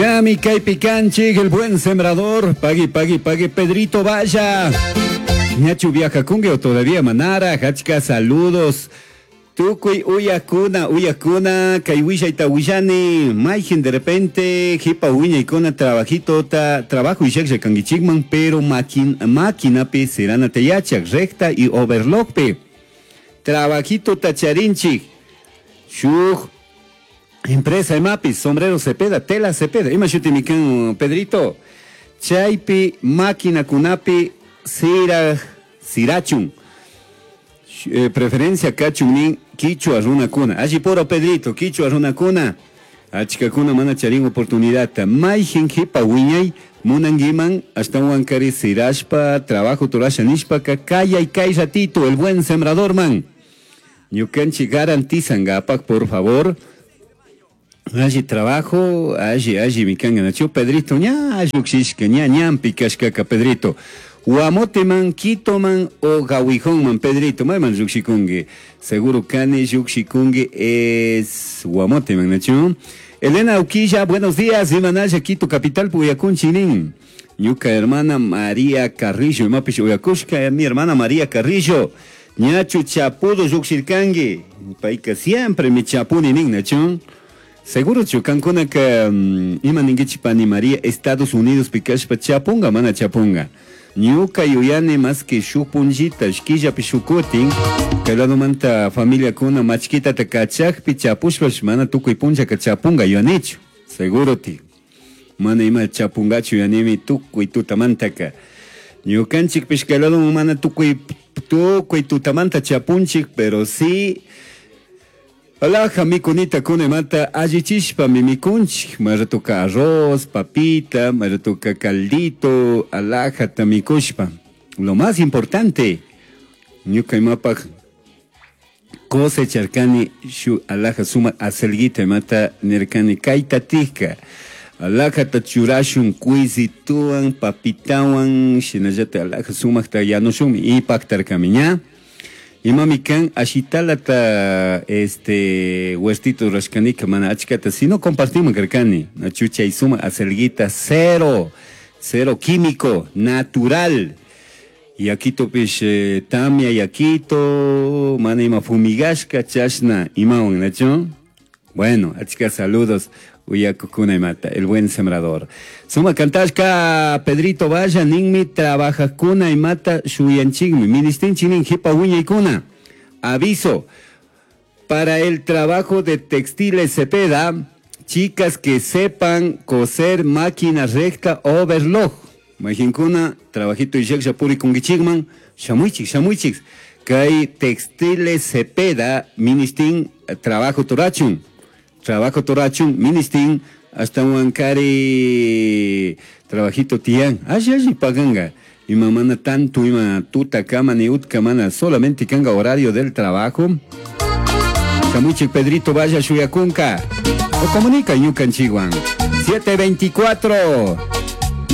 Yami kaypi kanchik, el buen sembrador. Pagui, pagui, pagui, Pedrito, vaya. Ñachu viajakunki o todavía manara, achka saludos. Tukuy uyakuna, uyakuna, kay willayta willani, mayjin de repente, jipa wiñaykuna trabajito ta, trabajo illaklla kankichikman, pero maquin, maquinapi siranata yachak, recta y overlockpi. Trabajito ta charinchik, shuk empresa imapi, sombrero Cepeda, tela Cepeda, ima shutimi kan Pedrito, chaypi maquinakunapi sira, sirachun. Preferencia kachun nin kichwa runakuna. Alli puro Pedrito, kichwa runakuna. Achkakuna mana charin oportunidadta. Mayjin jipa wiñay munanguiman ashtawankari sirashpa trabajo turasha nishpaka kayay kay ratito el buen sembrador man. Ñukanchik garantizangapak, por favor. Alli trabajo, alli, alli mikanga nachu Pedrito, ña llukshishka, ña ñampi kashkaka Pedrito. Huamoteman, Quitoman o Gawijonman, Pedrito, mayman llukshikunki. Seguro kani llukshikunki es Huamoteman, nachu. Elena Uquilla, buenos días, Imanaya, Quito, capital, Puyakunchinin. Ñuka hermana María Carrillo, imapish uyakushka, mi hermana María Carrillo. Ñachu chapudo llukshirkanki. Payka siempre mi chapuni nin, nachu. Seguro chukankuna que ima ninkichi pani María, Estados Unidos pikashpa chapunga, mana chapunga. Ñuka yuyani más que shuk punllita, shkillapi shukutin, kay ladomanta familiakuna machkitata kachakpi chapushpash mana tukuy punllaka chapunga yuyanichu. Seguro ti. Mana ima chapungachu yuyanimi tukuy tutamantaka. Ñukanchikpish kay ladoman mana tukuy, tukuy tutamanta chapunchik, pero sí Alaja mikunita kunemata allichishpa mikunchik, maratuka arroz, papita, maratuka caldito, alajata mikushpa. Lo más importante, ñuka imapak cosecharkani shu alaja suma acelguita imata nirkani kayta tijka. Alajata churashun kuisituan, papitawan, shinallata alaja sumakta yanushunmi ipaktarkami ña. Imami kan ashitalata este huertito rashkanika mana achkata si no compartimos karkani nachucha y suma acelguita cero, cero químico, natural. Y aquí topish tamia yakito, mana ima fumigashka chashna imawan nacho. Bueno, achka saludos uyakukuna imata, el buen sembrador. Suma kantashka Pedrito Valla ninmi trabajajkuna imata shuyanchikmi, ministinchik jipa wiñaykuna. Aviso, para el trabajo de textiles Cepeda, chicas que sepan coser máquina recta overlock. Majinkuna, trabajito y yaksha purikunkichikman, shamuychik, shamuychik. Kay textiles Cepeda, ministin, trabajo torachun. Trabajo torachun, ministin, hasta huancari trabajito tian. Así, así paganga. Y mamana tanto, ima tuta kama ni utka mana, solamente kanga horario del trabajo. Chamuchik Pedrito vaya shuyakunka. O comunica ñukanchikwan. 7:24.